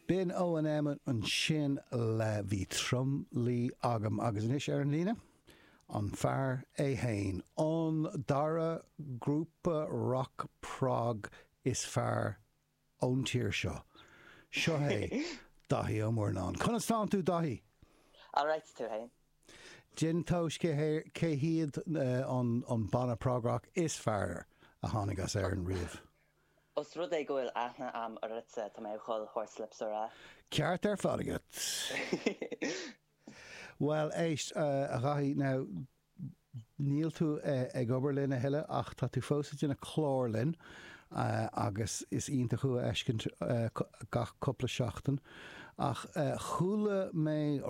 B'in O&M ansin le Bhí Tromluí Agam agus anois ar an líne, an fear é fhéin, an dara grúpa rock prog is fearr ón tír seo. Seo é Daithí Ó Murnáin. Conas tánn tú Daithí? Alright, tú fhéin? Déan tomhas cé hiad an banna prog rock is fearr a tháinig as Éirinn riamh? Os rud é go bhfuil aithne a'm ortsa, tá mé ag dhul Horslips a rá. Ceart ar fad agat. Bhuel, éist, a Dhaithí, now, níl tú ag obair linn a thuilleadh ach tá tú fós ag déanamh clár linn agus is iontach thú a fheiscint gach cúpla seachtain. Ach chuala mé.